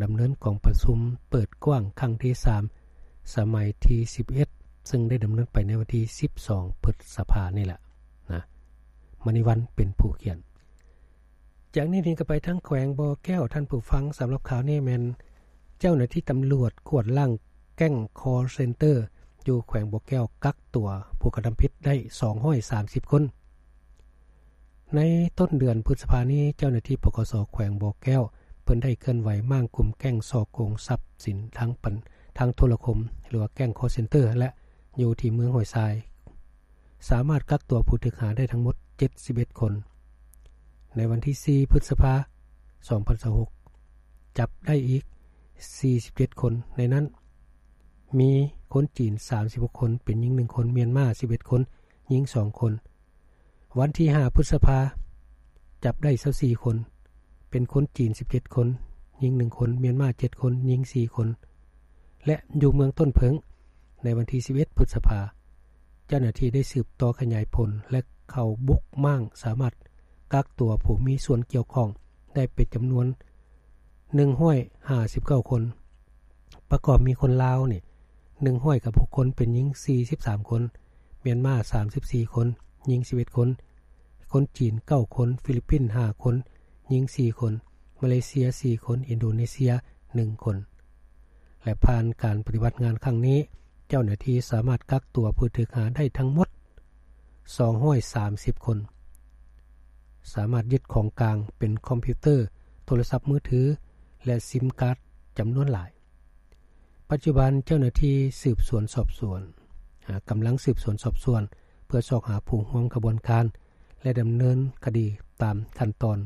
ດຳເນີນກອງປະຊຸມເປີດກວ້າງຄັ້ງທີສາມ ສະໄໝທີສິບເອັດ ເຊິ່ງໄດ້ດຳເນີນໄປໃນວັນທີສິບສອງ ພຶດສະພານີ້ແຫຼະນະ ມະນີວັນເປັນຜູ້ຂຽນ. ຈາກນີ້ນີ້ກໍໄປທາງແຂວງບໍ່ແກ້ວ ທ່ານຜູ້ຟັງ, ສຳລັບຂ່າວນີ້ແມ່ນເຈົ້າໜ້າທີ່ຕຳຫຼວດກວດລ້າງແກ້ງຄໍເຊັນເຕີຢູ່ແຂວງບໍ່ແກ້ວ ກັກຕົວຜູ້ກະທຳຜິດໄດ້ສອງຮ້ອຍສາມສິບຄົນ. ໃນຕົ້ນເດືອນພຶດສະພານີ້ ເຈົ້າໜ້າທີ່ ປກສ ແຂວງບໍ່ແກ້ວ ເພິ່ນໄດ້ເຄື່ອນໄຫວມ້າງກຸ່ມແກ້ງສໍ້ໂກງຊັບສິນທາງປັນ ທາງໂທລະຄົມ ຫຼືວ່າແກ້ງຄໍເຊັນເຕີ ແລະ ຢູ່ທີ່ເມືອງຫ້ວຍຊາຍ ສາມາດກັກຕົວຜູ້ຖືກຫາໄດ້ທັງໝົດເຈັດສິບເອັດຄົນ. ໃນວັນທີສີ່ ພຶດສະພາ ສອງພັນຊາວຫົກ ຈັບໄດ້ອີກສີ່ສິບເຈັດຄົນ, ໃນນັ້ນມີຄົນຈີນສາມສິບຫົກຄົນ, ເປັນຍິງໜຶ່ງຄົນ, ມຽນມາສິບເອັດຄົນ, ຍິງສອງຄົນ. ວັນທີຫ້າ ພຶດສະພາ ຈັບໄດ້ຊາວສີ່ຄົນ, ເປັນຄົນຈີນສິບເຈັດຄົນ, ຍິງໜຶ່ງຄົນ, ມຽນມາເຈັດຄົນ, ຍິງສີ່ຄົນ ແລະ ຢູ່ເມືອງຕົ້ນເຜິ້ງ ໃນວັນທີສິບເອັດ ພຶດສະພາ ເຈົ້າໜ້າທີ່ໄດ້ສືບຕໍ່ຂະຫຍາຍຜົນ ແລະ ເຂົ້າບຸກມ້າງ ສາມາດກັກຕົວຜູ້ມີສ່ວນກ່ຽວຂ້ອງໄດ້ເປັນຈຳນວນໜຶ່ງຮ້ອຍຫ້າສິບເກົ້າຄົນ. ປະກອບມີຄົນລາວນີ້ໜຶ່ງຮ້ອຍກັບຫົກຄົນ, ເປັນຍິງສີ່ສິບສາມຄົນ, ມຽນມາສາມສິບສີ່ຄົນ, ຍິງສິບເອັດຄົນ, ຄົນຈີນເກົ້າຄົນ, ຟີລິບປິນຫ້າຄົນ, ຍິງສີ່ຄົນ, ມາເລເຊຍສີ່ຄົນ, ອິນໂດເນເຊຍໜຶ່ງຄົນ. ແລະ ຜ່ານການປະຕິບັດງານຄັ້ງນີ້ ເຈົ້າໜ້າທີ່ສາມາດກັກຕົວຜູ້ຖືກຫາໄດ້ທັງໝົດສອງຮ້ອຍສາມສິບຄົນ, ສາມາດຍຶດຂອງກາງເປັນຄອມພິວເຕີ, ໂທລະສັບມືຖື ແລະ ຊິມກາດຈຳນວນຫຼາຍ. ປັດຈຸບັນເຈົ້າໜ້າທີ່ສືບສວນສອບສວນ ອາ ກຳລັງສືບສວນສອບສວນ ເພື່ອຊອກຫາຜູ້ຮ່ວມຂະບວນການ ແລະ ດຳເນີນຄະດີຕາມຂັ້ນຕອນ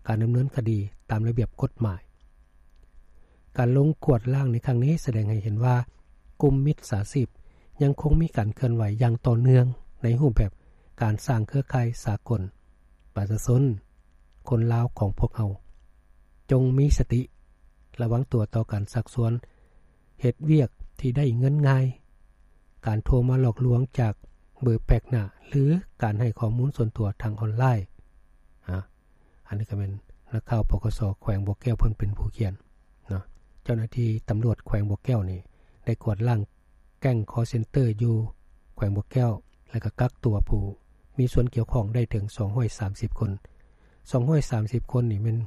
ການດຳເນີນຄະດີຕາມລະບຽບກົດໝາຍ. ການລົງກວດລ້າງໃນຄັ້ງນີ້ສະແດງໃຫ້ເຫັນວ່າ ກຸ່ມມິດສາຊີບຍັງຄົງມີການເຄື່ອນໄຫວຢ່າງຕໍ່ເນື່ອງ ໃນຮູບແບບການສ້າງເຄືອຂ່າຍສາກົນ. ປະຊາຊົນຄົນລາວຂອງພວກເຮົາ ຈົ່ງມີສະຕິ ລະວັງຕົວຕໍ່ການຊັກຊວນເຮັດວຽກທີ່ໄດ້ເງິນງ່າຍ, ການໂທມາຫຼອກລວງຈາກເບີແປກໜ້າ ຫຼື ການໃຫ້ຂໍ້ມູນສ່ວນຕົວທາງອອນລາຍ. ອາ ອັນນີ້ກໍແມ່ນນັກຂ່າວ ປກສ ແຂວງບໍ່ແກ້ວ ເພິ່ນເປັນຜູ້ຂຽນເນາະ. ເຈົ້າໜ້າທີ່ຕຳຫຼວດແຂວງບໍ່ແກ້ວນີ້ ໄດ້ກວດລ້າງແກ້ງຄໍເຊັນເຕີຢູ່ແຂວງບໍ່ແກ້ວ ແລະ ກໍກັກຕົວຜູ້ມີສ່ວນກ່ຽວຂ້ອງໄດ້ເຖິງສອງຮ້ອຍສາມສິບຄົນ. ສອງຮ້ອຍສາມສິບຄົນນີ້ແມ່ນ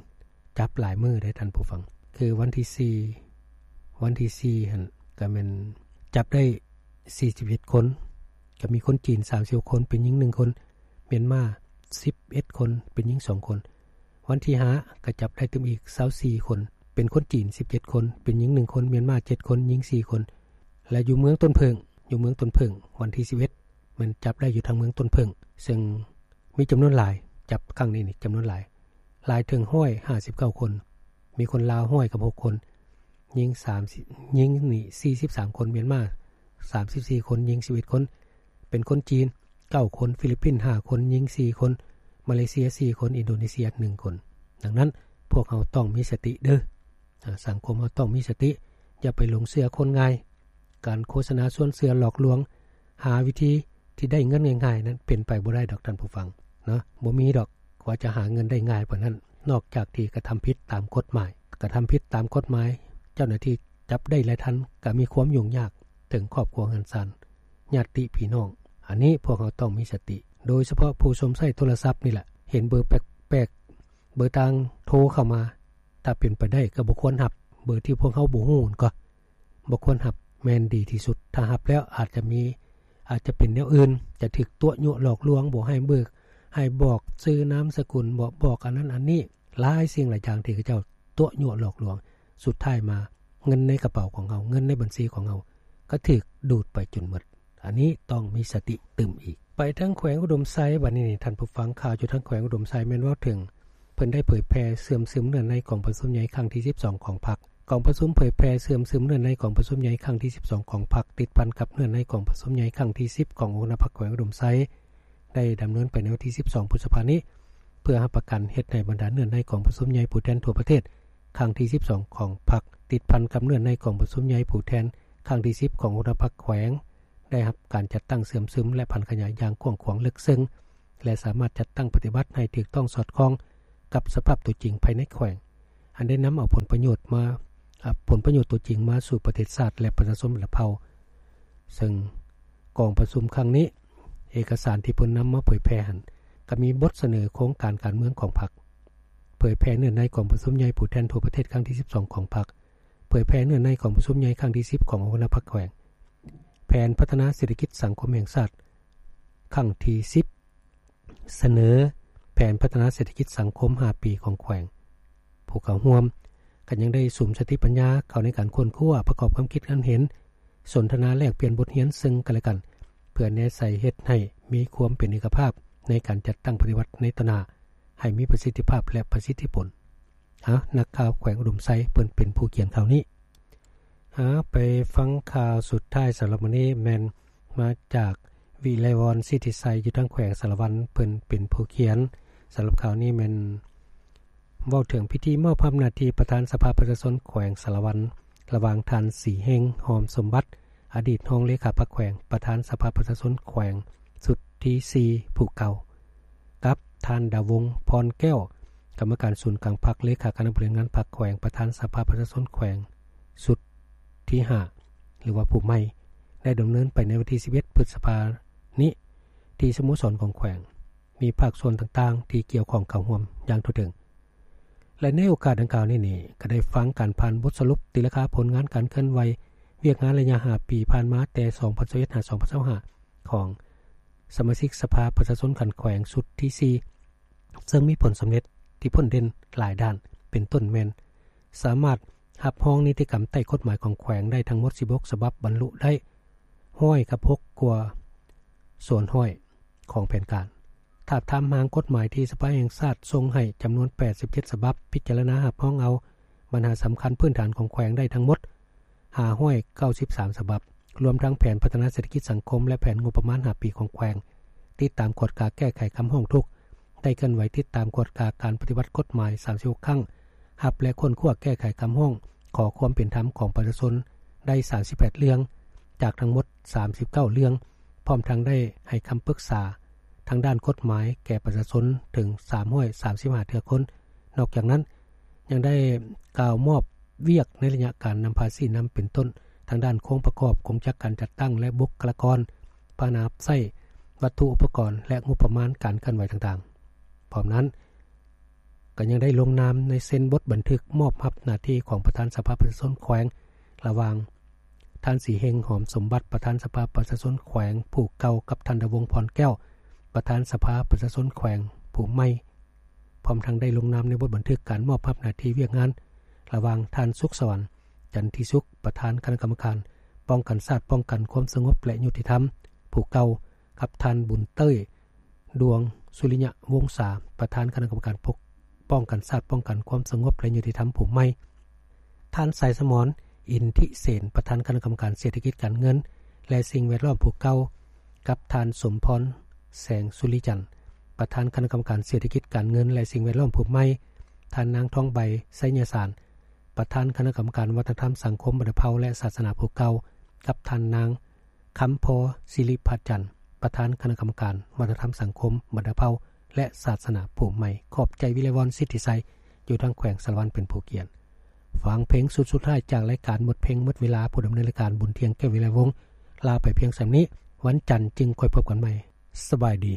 ຈັບຫຼາຍມື້ເດ້ທ່ານຜູ້ຟັງ, ຄືວັນທີສີ່ ວັນທີສີ່ຫັ້ນກໍແມ່ນຈັບໄດ້ສີ່ສິບເອັດຄົນ, ກໍມີຄົນຈີນສາມສິບຫົກຄົນ ເປັນຍິງໜຶ່ງຄົນ, ມຽນມາສິບເອັດຄົນ ເປັນຍິງສອງຄົນ. ວັນທີຫ້າກໍຈັບໄດ້ຕື່ມອີກຊາວສີ່ຄົນ, ເປັນຄົນຈີນສິບເຈັດຄົນ, ເປັນຍິງໜຶ່ງຄົນ, ມຽນມາເຈັດຄົນ, ຍິງສີ່ຄົນ. ແລະ ຢູ່ເມືອງຕົ້ນເຜິ້ງ ຢູ່ເມືອງຕົ້ນເຜິ້ງ ວັນທີສິບເອັດ ແມ່ນຈັບໄດ້ຢູ່ທາງເມືອງຕົ້ນເຜິ້ງ ເຊິ່ງມີຈຳນວນຫຼາຍ, ຈັບຄັ້ງນີ້ນີ້ຈຳນວນຫຼາຍ ຫຼາຍເຖິງຮ້ອຍຫ້າສິບເກົ້າຄົນ, ມີຄົນລາວຮ້ອຍກັບຫົກຄົນ, ຍິງສາມ ຍິງນີ້ສີ່ສິບສາມຄົນ, ມຽນມາສາມສິບສີ່ຄົນ, ຍິງສິບເອັດຄົນ, ເປັນຄົນຈີນເກົ້າຄົນ, ຟີລິບປິນຫ້າຄົນ, ຍິງສີ່ຄົນ, ມາເລເຊຍສີ່ຄົນ, ອິນໂດເນເຊຍໜຶ່ງຄົນ. ດັ່ງນັ້ນ ພວກເຮົາຕ້ອງມີສະຕິເດີ້. ອາ ສັງຄົມເຮົາຕ້ອງມີສະຕິ, ຢ່າໄປຫຼົງເຊື່ອຄົນງ່າຍ. ການໂຄສະນາຊວນເຊື່ອຫຼອກລວງ ຫາວິທີທີ່ໄດ້ເງິນງ່າຍໆນັ້ນ ເປັນໄປບໍ່ໄດ້ດອກທ່ານຜູ້ຟັງເນາະ, ບໍ່ມີດອກວ່າຈະຫາເງິນໄດ້ງ່າຍປານນັ້ນ. ນອກຈາກທີ່ກະທຳຜິດຕາມກົດໝາຍ, ກະທຳຜິດຕາມກົດໝາຍ ເຈົ້າໜ້າທີ່ຈັບໄດ້ລະທັນ ກະມີຄວາມຫຍຸ້ງຍາກເຖິງຄອບຄົວເຮືອນຊານ ຍາດຕິພີ່ນ້ອງ. ອັນນີ້ພວກເຮົາຕ້ອງມີສະຕິ, ໂດຍສະເພາະຜູ້ຊົມໃຊ້ໂທລະສັບນີ້ແຫຼະ, ເຫັນເບີແປກໆ ເບີຕ່າງໂທເຂົ້າມາ, ຖ້າເປັນໄປໄດ້ກໍບໍ່ຄວນຮັບ, ເບີທີ່ພວກເຮົາບໍ່ຮູ້ນັ້ນກໍບໍ່ຄວນຮັບແມ່ນດີທີ່ສຸດ. ຖ້າຮັບແລ້ວອາດຈະມີ ອາດຈະເປັນແນວອື່ນ, ຈະຖືກຕົວະຍົວະຫຼອກລວງ, ບໍ່ໃຫ້ເບີ, ໃຫ້ບອກຊື່ນາມສະກຸນ, ບອກ ບອກອັນນັ້ນອັນນີ້, ຫຼາຍສິ່ງຫຼາຍຢ່າງທີ່ເຂົາເຈົ້າຕົວະຍົວະຫຼອກລວງ. ສຸດທ້າຍມາເງິນໃນກະເປົາຂອງເຮົາ, ເງິນໃນບັນຊີຂອງເຮົາ ກໍຖືກດູດໄປຈົນໝົດ. ອັນນີ້ຕ້ອງມີສະຕິຕື່ມອີກ. ໄປທາງແຂວງອຸດົມໄຊ ບັດນີ້ນີ້ ທ່ານຜູ້ຟັງ, ຂ່າວຢູ່ທາງແຂວງອຸດົມໄຊແມ່ນເວົ້າເຖິງ ເພິ່ນໄດ້ເຜີຍແຜ່ເຊື່ອມຊຶມເນື້ອໃນກອງປະຊຸມໃຫຍ່ຄັ້ງທີສິບສອງຂອງພັກ. ກອງປະຊຸມເຜີຍແຜ່ເຊື່ອມຊຶມເນື້ອໃນກອງປະຊຸມໃຫຍ່ຄັ້ງທີສິບສອງຂອງພັກ ຕິດພັນກັບເນື້ອໃນກອງປະຊຸມໃຫຍ່ຄັ້ງທີສິບຂອງອົງຄະນະພັກແຂວງອຸດົມໄຊ ໄດ້ດຳເນີນໄປໃນວັນທີສິບສອງ ພຶດສະພານີ້ ເພື່ອຮັບປະກັນເຮັດໃຫ້ບັນດາເນື້ອໃນກອງປະຊຸມໃຫຍ່ຜູ້ແທນທົ່ວປະເທດຄັ້ງທີສິບສອງຂອງພັກ ຕິດພັນກັບເນື້ອໃນກອງປະຊຸມໃຫຍ່ຜູ້ແທນຄັ້ງທີສິບຂອງອົງຄະນະພັກແຂວງ ໄດ້ຮັບການຈັດຕັ້ງເຊື່ອມຊຶມ ແລະ ຜັນຂະຫຍາຍຢ່າງກວ້າງຂວາງເລິກເຊິ່ງ ແລະ ສາມາດຈັດຕັ້ງປະຕິບັດໃຫ້ຖືກຕ້ອງສອດຄ່ອງກັບສະພາບຕົວຈິງພາຍໃນແຂວງ. ອັນໄດ້ນຳເອົາຜົນປະໂຫຍດມາ ອາ ຜົນປະໂຫຍດຕົວຈິງມາສູ່ປະເທດຊາດ ແລະ ປະຊາຊົນລາວເຜົ່າ. ເຊິ່ງກອງປະຊຸມຄັ້ງນີ້ ເອກະສານທີ່ເພິ່ນນຳມາເຜີຍແຜ່ຫັ້ນ ກໍມີບົດສະເໜີໂຄງການການເມືອງຂອງພັກ, ເຜີຍແຜ່ເນື້ອໃນກອງປະຊຸມໃຫຍ່ຜູ້ແທນທົ່ວປະເທດຄັ້ງທີສິບສອງຂອງພັກ, ເຜີຍແຜ່ເນື້ອໃນກອງປະຊຸມໃຫຍ່ຄັ້ງທີສິບຂອງຫົວໜ້າພັກແຂວງ, ແຜນພັດທະນາເສດຖະກິດສັງຄົມແຫ່ງຊາດຄັ້ງທີສິບ, ສະເໜີແຜນພັດທະນາເສດຖະກິດສັງຄົມຫ້າປີຂອງແຂວງ. ຜູ້ເຂົ້າຮ່ວມກໍຍັງໄດ້ສຸມສະຕິປັນຍາເຂົ້າໃນການຄົ້ນຄວ້າ, ປະກອບຄວາມຄິດຄວາມເຫັນ, ສົນທະນາແລກປ່ຽນບົດຮຽນເຊິ່ງກັນແລະກັນ, ເພື່ອແນໃສ່ເຮັດໃຫ້ມີຄວາມເປັນເອກະພາບໃນການຈັດຕັ້ງປະຕິບັດໃນຕໍ່ໜ້າ ໃຫ້ມີປະສິດທິພາບ ແລະ ປະສິດທິຜົນ. ເອົາ ນັກຂ່າວແຂວງອຸດົມໄຊ ເພິ່ນເປັນຜູ້ຂຽນຂ່າວນີ້. ເອົາ ໄປຟັງຂ່າວສຸດທ້າຍສຳລັບມື້ນີ້ ແມ່ນມາຈາກວິໄລວອນ ສິດທິໄຊ ຢູ່ທາງແຂວງສາລະວັນ ເພິ່ນເປັນຜູ້ຂຽນ. ສຳລັບຂ່າວນີ້ແມ່ນເວົ້າເຖິງພິທີມອບອຳນາດໜ້າທີ່ປະທານສະພາປະຊາຊົນແຂວງສາລະວັນ ລະຫວ່າງທ່ານ ສີເຮງ ຫອມສົມບັດ ອະດີດຮອງເລຂາພັກແຂວງ ປະທານສະພາປະຊາຊົນແຂວງຊຸດທີສີ່ ຜູ້ເກົ່າ ກັບທ່ານ ດາວົງ ພອນແກ້ວ ກຳມະການສູນກາງພັກ ເລຂາຄະນະບໍລິຫານງານພັກແຂວງ ປະທານສະພາປະຊາຊົນແຂວງຊຸດທີຫ້າ ຫຼືວ່າຜູ້ໃໝ່ ໄດ້ດຳເນີນໄປໃນວັນທີສິບເອັດ ພຶດສະພານີ້ ທີ່ສະໂມສອນຂອງແຂວງ ມີພາກສ່ວນຕ່າງໆທີ່ກ່ຽວຂ້ອງເຂົ້າຮ່ວມຢ່າງທົ່ວເຖິງ. ແລະ ໃນໂອກາດດັ່ງກ່າວນີ້ນີ້ ກໍໄດ້ຟັງການຜ່ານບົດສະຫຼຸບຕີລາຄາຜົນງານການເຄື່ອນໄຫວວຽກງານໄລຍະຫ້າປີຜ່ານມາ ແຕ່ສອງພັນຊາວເອັດ ຫາ ສອງພັນຊາວຫ້າ ຂອງສະມາຊິກສະພາປະຊາຊົນຂັ້ນແຂວງຊຸດທີສີ່ ເຊິ່ງມີຜົນສຳເລັດທີ່ພົ້ນເດັ່ນຫຼາຍດ້ານ ເປັນຕົ້ນແມ່ນ ສາມາດຮັບຮອງນິຕິກຳໃຕ້ກົດໝາຍຂອງແຂວງໄດ້ທັງໝົດສິບຫົກສະບັບ, ບັນລຸໄດ້ຮ້ອຍກັບຫົກກວ່າສ່ວນຮ້ອຍຂອງແຜນການ. ທາບທາມຮ່າງກົດໝາຍທີ່ສະພາແຫ່ງຊາດສົ່ງໃຫ້ຈຳນວນແປດສິບເຈັດສະບັບ, ພິຈາລະນາຮັບຮອງເອົາບັນຫາສຳຄັນພື້ນຖານຂອງແຂວງໄດ້ທັງໝົດຫ້າຮ້ອຍເກົ້າສິບສາມສະບັບ, ລວມທັງແຜນພັດທະນາເສດຖະກິດສັງຄົມ ແລະ ແຜນງົບປະມານຫ້າປີຂອງແຂວງ, ຕິດຕາມກວດກາແກ້ໄຂຄຳຮ້ອງທຸກ, ໄດ້ເຄື່ອນໄຫວຕິດຕາມກວດກາການປະຕິບັດກົດໝາຍສາມສິບຫົກຄັ້ງ, ຮັບ ແລະ ຄົ້ນຄວ້າແກ້ໄຂຄຳຮ້ອງຂໍຄວາມເປັນທຳຂອງປະຊາຊົນໄດ້ສາມສິບແປດເລື່ອງ, ຈາກທັງໝົດສາມສິບເກົ້າເລື່ອງ, ພ້ອມທັງໄດ້ໃຫ້ຄຳປຶກສາທາງດ້ານກົດໝາຍແກ່ປະຊາຊົນເຖິງສາມຮ້ອຍສາມສິບຫ້າເທື່ອຄົນ. ນອກຈາກນັ້ນ ຍັງໄດ້ກ່າວມອບວຽກໃນໄລຍະການນຳພາຊີ້ນຳ ເປັນຕົ້ນທາງດ້ານໂຄງປະກອບ, ກົງຈັກການຈັດຕັ້ງ ແລະ ບຸກຄະລາກອນ, ພາຫະນະຮັບໃຊ້, ວັດຖຸອຸປະກອນ ແລະ ງົບປະມານການເຄື່ອນໄຫວຕ່າງໆ. ພ້ອມນັ້ນ ກໍຍັງໄດ້ລົງນາມໃນເຊັນບົດບັນທຶກມອບຮັບໜ້າທີ່ຂອງປະທານສະພາປະຊາຊົນແຂວງ ລະຫວ່າງທ່ານ ສີເຮງ ຫອມສົມບັດ ປະທານສະພາປະຊາຊົນແຂວງຜູ້ເກົ່າ ກັບທ່ານ ດາວົງ ພອນແກ້ວ ປະທານສະພາປະຊາຊົນແຂວງຜູ້ໃໝ່. ພ້ອມທັງໄດ້ລົງນາມໃນບົດບັນທຶກການມອບຮັບໜ້າທີ່ວຽກງານ ລະຫວ່າງທ່ານ ສຸກສະຫວັນ ຈັນທິສຸກ ປະທານຄະນະກຳມະການປ້ອງກັນຊາດ ປ້ອງກັນຄວາມສະຫງົບ ແລະ ຍຸຕິທຳ ຜູ້ເກົ່າ ກັບທ່ານ ບຸນເຕີຍ ດວງສຸລິຍະວົງສາ ປະທານຄະນະກຳມະການປົກປ້ອງກັນຊາດ ປ້ອງກັນຄວາມສະຫງົບ ແລະ ຍຸຕິທຳ ຜູ້ໃໝ່, ທ່ານ ສາຍສະໝອນ ອິນທິເສນ ປະທານຄະນະກຳມະການເສດຖະກິດການເງິນ ແລະ ສິ່ງແວດລ້ອມ ຜູ້ເກົ່າ ກັບທ່ານ ສົມພອນ ແສງສຸລິຈັນ ປະທານຄະນະກຳມະການເສດຖະກິດການເງິນ ແລະ ສິ່ງແວດລ້ອມ ຜູ້ໃໝ່, ທ່ານນາງ ທອງໃບ ໄຊຍະສານ ປະທານຄະນະກຳມະການວັດທະນະທຳສັງຄົມບັນດາເຜົ່າ ແລະ ສາສະໜາ ຜູ້ເກົ່າ ກັບທ່ານນາງ ຄຳພໍ ສິລິພັດຈັນ ປະທານຄະນະກຳມະການວັດທະນະທຳສັງຄົມບັນດາເຜົ່າ ແລະ ສາສະໜາ ຜູ້ໃໝ່. ຂອບໃຈ ວິໄລວອນ ສິດທິໄຊ ຢູ່ທາງແຂວງສາລະວັນ ເປັນຜູ້ຂຽນ. ຟັງເພງຊຸດສຸດທ້າຍຈາກລາຍການໝົດເພງໝົດເວລາ. ຜູ້ດຳເນີນລາຍການ ບຸນທຽງ ແກ້ວວິໄລວົງ ລາໄປພຽງສ່ຳນີ້. ວັນຈັນຈຶ່ງຄ່ອຍພົບກັນໃໝ່. ສະບາຍດີ.